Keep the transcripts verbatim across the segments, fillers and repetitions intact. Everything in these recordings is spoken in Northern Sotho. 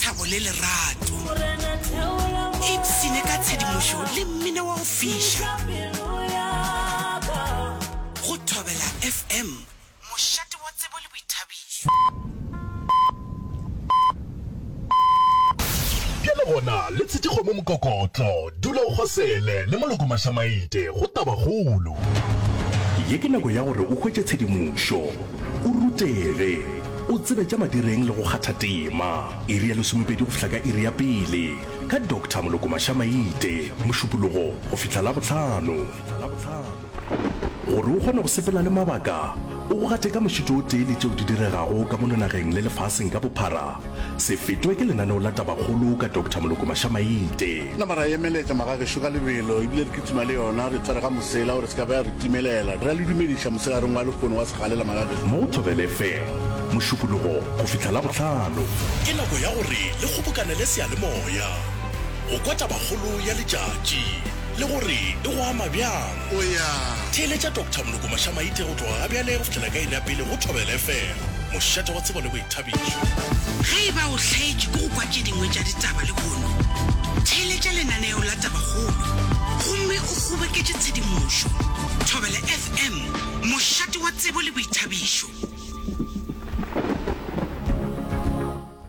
lethabo le lerato. Ipshine ka tshedimošo le mmino wa go fiša. Go Thobela F M, mošate wa tsebo le boithabišo. Bjale gona le tshetše kgomo mokokotlo, dula o kgosele le moloko mašamaite go tabakgolo. Ye ke nako ya gore o hwetše tshedimošo, o rutege, o tsebe tša madireng le go kgatha tema. Iri ya lesomepedi go fihla ka iri ya pele, ka Doctor Moloko Mašamaite, Mošupologo go fihla Labohlano. Gore o kgone go sepela le mabaka, o go gate ka mošito o tee le tšeo di diregago ka mono nageng le lefaseng ka bophara, se fetwe ke lenaneo la Tabakgolo ka Doctor Moloko Mašamaite. Nama ra emeletša magagešo ka lebelo, ebile re kitima le yona, re tshwere ga mosela gore se ka ba ya re timelela. Re a le dumediša mosegareng wa lehono wa segalela magagešo. Mo go Thobela F M, Mošupologo go fihla Labohlano. Ke nako ya gore le kgobokanele seyalemoya go kwa tabakgolo ya letšatši le gore e go ama bjang. O ya. Theeletša Doctor Moloko Mašamaite go tloga gabjale go fihlela ka iri ya pele go Thobela F M, mošate wa tsebo le boithabišo. Ge e ba o hlaetšwe ke go kwa tše dingwe tša ditaba lehono, theeletša lenaneo la Tabakgolo gomme o kgoboketše tshedimošo. Thobela F M, mošate wa tsebo le boithabišo.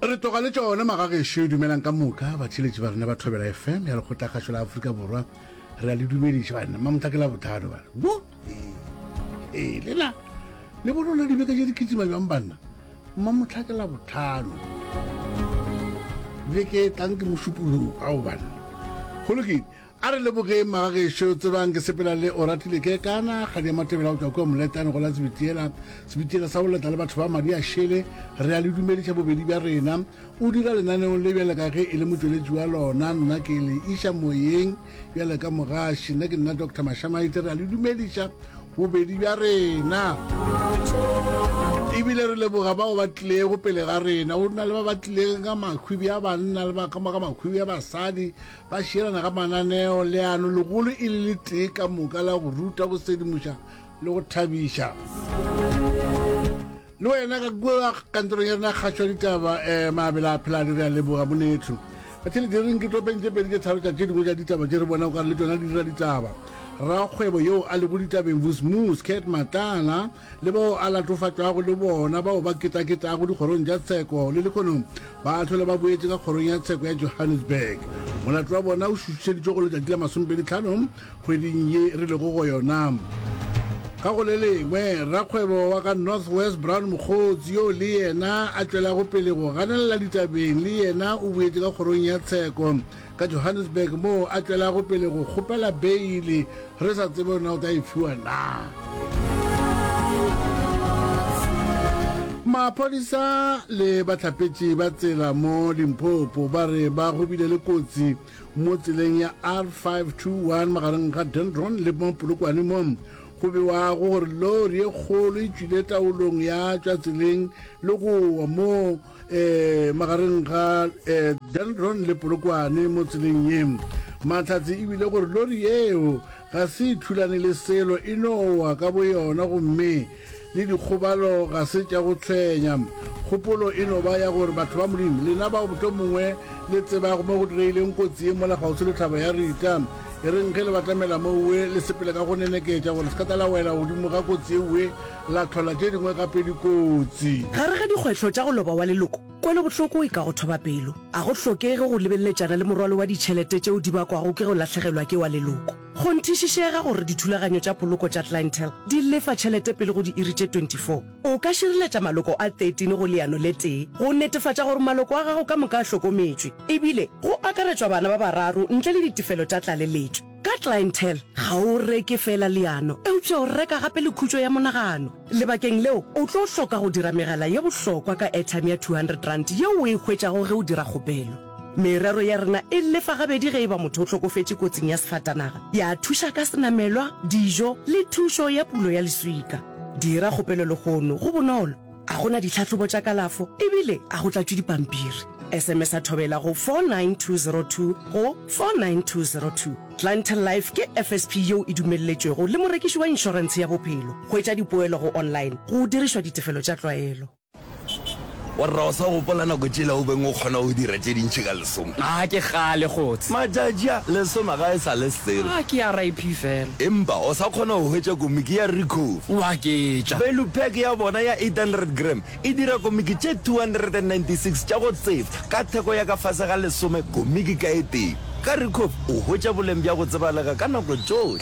Re tloga le tšona magagešo, dumelang ka moka batheeletši ba rena ba Thobela F M ya Lekgotlakgašo la Afrika Borwa. Re a le dumediša banna, mamotla ke Labohlano bana. Wo! Ee, lena le bolola dibeke tše di kitima bjang banna? Mamotla ke Labohlano. Beke e tlang ke Mošupologo, ao banna. Go lokile. A re lebogeng magagešo, tsebang ke sepela le Oratile Kekana, kgadi ya Matebele go tšwa kua Moletane go la Sebitiela, Sebitiela sa boleta le batho ba madi a šele. Re a le dumediša bobedi bja rena. O dira lenaneong le bjale ka ge e le motšweletši wa lona, nna ke le iša moyeng bjale ka mogaši. Nna ke nna Doctor Mašamaite, re a le dumediša bobedi bja rena. Ebile re leboga bao ba tlilego pele ga rena. Go na le ba ba tlileng ka makhwibi a banna le ba ka makhwibi a basadi, ba šielana ka mananeo. Leano legolo e le le tee ka moka la go ruta, go sedimoša le go thabiša. Le wena ka kua kantorong ya rena ya kgašo ya ditaba, um Maabela a Pheladi, re a leboga monetho. Batheeletši, re reng ke topeng tše pedi tše tharo tša tše dingwe tša ditaba tše re bonago ka re le tšona di dira ditaba. Rakgwebo yo a lego ditabeng Vusmus Cat Matlala le bao a latofatšwago le bona bao ba ketaketago dikgorong tša tsheko le lehono ba ahlola ba boetše ka kgorong ya tsheko ya Johannesburg. Molato wa bona o šuthišeditšwe go letšatši la masomepedi tlhano kgweding ye re lego go yona. Ka go le lengwe, rakgwebo wa ka North West Brown Mokgotsi yo le yena a tšwelago pele go ganelela ditabeng le yena o boetše ka kgorong ya tsheko ka Johannesburg moo a tšwelago pele go kgopela beile re sa tsebe gore na o tla e fiwa na. Maphodisa le bahlapetši ba tsela mo Limpopo ba re ba go bile le kotsi mo tseleng ya R five two one magareng ga Dendron le mo Polokwane mo go bewago gore lori ye kgolo e tšwile taolong ya tšwa tseleng le go wa mo um magareng ga um Dendron le Polokwane mo tseleng ye. Mahlatse e bile gore lori yeo ga se e thulane le selo, e no wa ka boyona gomme le dikgobalo ga se tša go tshwenya. Kgopolo e no ba ya gore batho ba Modimo, lena bao mohlomongwe le tsebago mo go diregileng kotsi ye mola kgauswi le Thaba ya Rita, e reng ge le batamela mowe le sepele ka go neneketša gore se ka tla la wela godimo ga kotsi yewe la hlola tše dingwe gape dikotsi. Gare ga dikgwetlho tša go loba wa leloko, kwelobohloko e ka go thoba pelo. A go hlokege go lebeletšana le morwalo wa ditšhelete tšeo di bakwago ke go lahlegelwa ke wa leloko. Kgonthišišega gore dithulaganyo tša poloko tša Clientele di lefa tšhelete pele go diiri tše twenty four. O ka šireletša maloko a thirteen go leano le tee go netefatša gore maloko a gago ka moka a hlokometšwe, ebile go akaretšwa bana ba bararo ntle le ditefelo tša tlaleletšo. Ka Clientele, ga o reke feela leano, eupša o reka gape le khutšo ya monagano. Lebakeng leo, o tlo hloka go dira megala ye bohlokwa ka airtime ya two hundred rand yeo o e hwetšago ge o dira kgopelo. Merero ya rena e lefa gabedi ge e ba motho o hlokofetše kotsing ya sefatanaga, ya thuša ka senamelwa, dijo le thušo ya pulo ya leswika. Dira kgopelo lehono, go bonolo, a go na ditlhahlobo tša kalafo ebile a go tlatšwe dipampiri. S M S a thobela go four nine two zero two go four nine two zero two. Clientele Life ke F S P yeo e dumelletšwego le morekiši wa inšorentshe ya bophelo. Hwetša dipoelo go online go dirišwa ditefelo tša tlwaelo. Warra o sa gopola nako tšela o beng o kgona go dira tše dintši ka lesome? A ke kgale kgotse. Matšatši a, lesome ga e sa le selo. A ke R I P fela. Empa o sa kgona go hwetša komiki ya Ricoffy. O aketša. Value pack ya bona ya eight hundred gram e dira komiki tše two hundred and ninety six tša go tsefa ka theko ya ka fase ga lesome komiki ka e tee. Ka Ricoffy o hwetša boleng bja go tsebalega ka nako tšohle.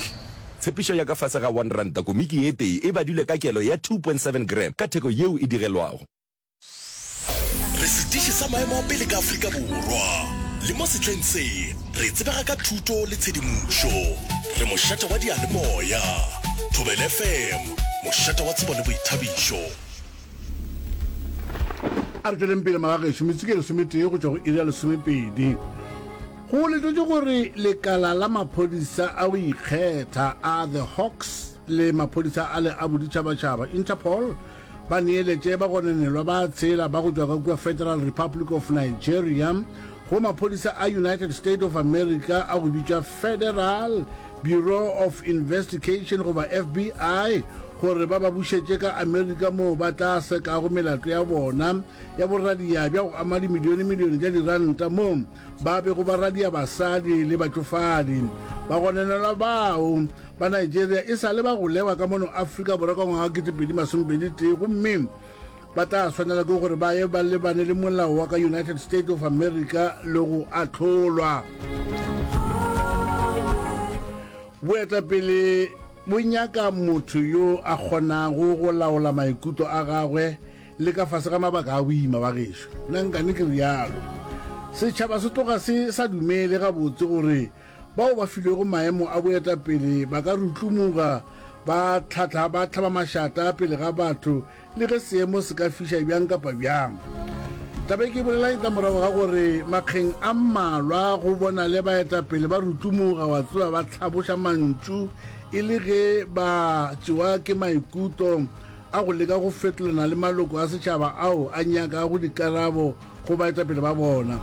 Tshepišo ya ka fase ga one ranta komiki e tee e badilwe ka kelo ya two point seven gram ka theko yeo e digelwago. Re setiši sa maemo a pele ka Afrika Borwa, le mo sehleng se re tsebega ka thuto le tshedimošo. Re mošate wa diyalemoya. Thobela F M, mošate wa tsebo le boithabišo. A re tšweleng pele magagešo, metsotso ke lesometee go tšwa go iri ya lesomepedi. Go letetšwe gore lekala la maphodisa a go ikgetha a The Hawks le maphodisa a le a boditšhabatšhaba Interpol ba neeletše bagononelwa ba tshela ba go tšwa ka kua Federal Republic of Nigeria go maphodisa a United States of America a go bitšwa Federal Bureau of Investigation goba F B I gore ba ba bušetše ka Amerika moo ba tla sekago melato ya bona ya boradia bja go ama dimilione-milione tša diranta moo ba bego ba radia basadi le batšofadi. Bagononelwa bao ba Nigeria e sa le ba golegwa ka mono Afrika Borwa ka ngwaga wa ketepedi masomepedi tee gomme ba tla swanela ke gore ba ye ba lebane le molao wa ka United States of America le go ahlolwa. Boetapele bo nyaka motho yo a kgonago go laola maikutlo a gagwe le ka fase ga mabaka a boima ba gešo. Nna nkane ke rialo. Setšhaba se tloga se sa dumele gabotse gore bao ba filwego maemo a boetapele ba ka rutlumoga ba tlhatla ba tlhaba mašata pele ga batho le ge seemo se ka fiša bjang kapa bjang. Taba e ke bolela e tla morago ga gore makgeng a mmalwa go bona le baetapele ba rutlumoga wa tseba ba hlaboša mantšu e le ge ba tšewa ke maikutlo a go leka go fetolana le maloko a setšhaba ao a nyakago dikarabo go baetapele ba bona.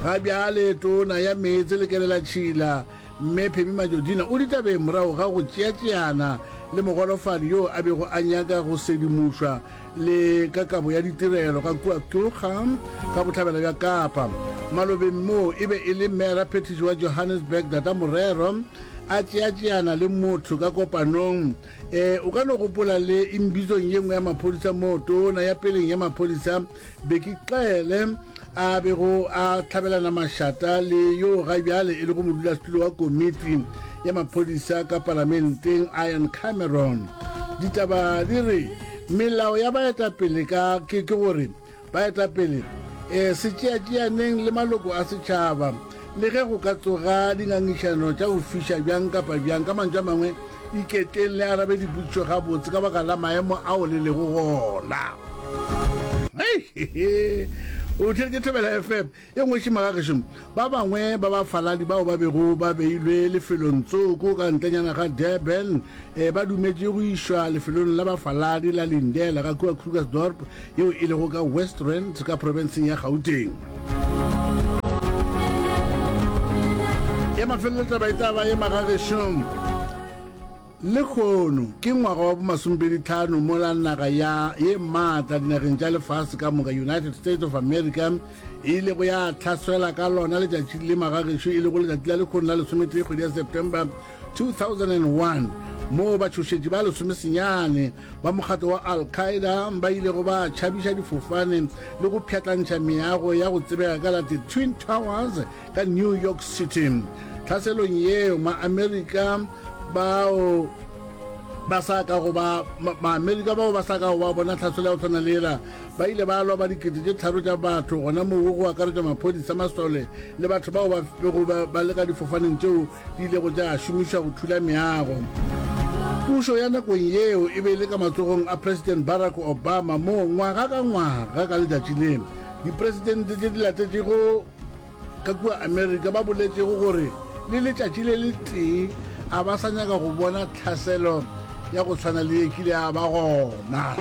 Ga bjale tona ya meetse le kelelatšhila mme Pemmy Majodina o ditabeng morago ga go tšeatšeana le mogolofadi yo a bego a nyaka go sedimošwa le ka kabo ya ditirelo ka kua Kruger ka bohlabela bja Kapa. Malobeng moo e be e le mera phetiši wa Johannesburg Data Morero a tšeatšeana le motho ka kopanong. um o ka no gopola le imbitsong ye nngwe ya maphodisa moo tona ya peleng ya maphodisa Bheki Cele a bego a hlabelana mašata le yo ga bjale e lego modulasetulo wa komiti ya maphodisa ka palamenteng Ian Cameron. Ditaba di re melao ya baetapele ka ke ke gore baetapele um se tšeatšeaneng le maloko a setšhaba le ge go ka tsoga dingangišano tša go fiša bjang kapa bjang. Ka mantšu a mangwe, iketleng le arabe dipotšišo gabotse ka baka la maemo ao le lego gona. O theletše Thobela F M e nngwe šimagagešo. Ba bangwe ba bafaladi bao ba bego ba beilwe lefelong tsoko ka ntlenyana ga Durban um ba dumetše go išwa lefelong la bafaladi la Lindela ga kua Krugersdorp yeo e lego ka West Rand ka profenseng ya Gauteng. Ya mafelelo taba e tla ba ye magagešong. Lekgono ke ngwaga wa bomasomepedi tlhano mola naga ya ye maatla dinageng tša lefase ka moka United States of America e ilego ya tlhasela ka lona letšatši le magagešo e lego letšatši la lekgono la lesometee kgwedi ya September two thousand and one moo batšhošetši ba lesomesenyane ba mokgatlo wa Al-Qaeda ba ilego ba tšhabiša difofane le go pšhatlantšha meago ya go tsebega ka la di-Twin Towers ka New York City. Tlhaselong yeo Maamerika bao ba sa ka go ba Maamerika bao ba sa ka go ba bona tlhaselo ya go tshwana le ela ba ile ba loba dikete tše tharo tša batho gona moo go akaretšwa maphodisa, masole le batho bao ba bego ba le ka difofaneng tšeo di ilego tša šomišwa go thula meago. Pušo ya nakong yeo e be e le ka matsogong a President Barack Obama moo ngwaga ka ngwaga ka letšatši le dipresidente tše di latetšego ka kua Amerika ba boletšego gore le letšatši le le tee a ba sa nyaka go bona tlhaselo ya go tshwana le e kile ya ba gona.